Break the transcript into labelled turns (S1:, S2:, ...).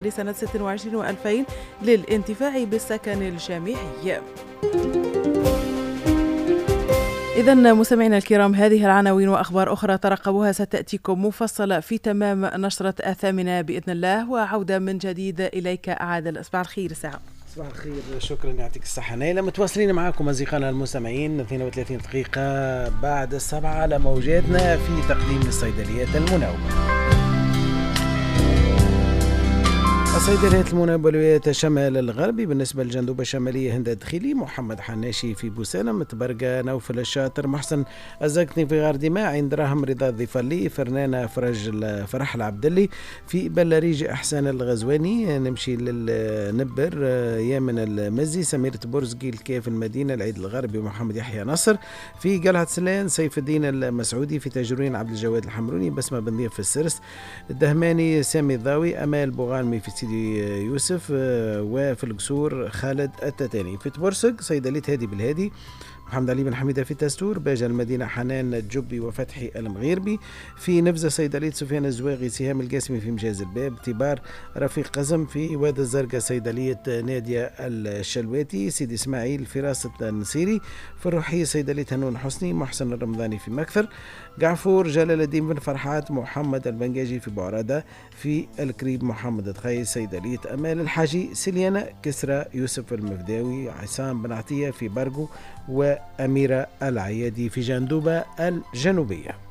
S1: لسنة 26 و2000 للانتفاع بالسكن الجامعي. إذا مستمعينا الكرام، هذه العناوين وأخبار أخرى ترقبوها ستأتيكم مفصلة في تمام نشرة 8 بإذن الله. وعودة من جديد إليك عادل. صباح الخير ساعة.
S2: صباح الخير، شكرا، يعطيك الصحة نايلة. متواصلين معاكم أصدقائنا المستمعين 32 دقيقة بعد 7 على موجاتنا في تقديم الصيدليات المناوبة. الصيدليات المناوبة لولاية الشمال الغربي بالنسبة للجندوبة الشمالية هند الدخيلي، محمد حناشي في بوسالم، تبرقة نوفل الشاطر، محسن الزقني في غار دماء، عند دراهم رضا الضفلي، فرنانة فرج فرح العبدلي في بلاريج، إحسان الغزواني. نمشي للنبر، يامن المزي، سميرة برزقي الكيف المدينة، العيد الغربي محمد يحيى نصر في قلعة سلان، سيف الدين المسعودي في تاجرين، عبد الجواد الحمروني، بسمة بن ضيف في السرس، الدهماني سامي الضاوي، أمال بوغانمي في سيدي يوسف، وفي القصور خالد التتاني. في تبرسق صيدلية هادي بالهادي، محمد علي بن حميدة في تستور، باجة المدينة حنان الجبي وفتحي المغيربي. في نفزة صيدلية سفيان الزواغي، سهام القاسمي في مجاز الباب، تبار رفيق قزم. في واد الزرقاء صيدلية نادية الشلواتي، سيدي إسماعيل فراسة النصيري. في الروحية صيدلية هنون حسني، محسن الرمضاني في مكثر، قعفور جلال الدين بن فرحات، محمد البنجاجي في بعرادة. في الكريب محمد تخي، صيدلية أمال الحاجي، سليانة كسرى يوسف المفداوي، عصام بن عطية في برقو، وأميرة العيادي في جندوبة الجنوبية.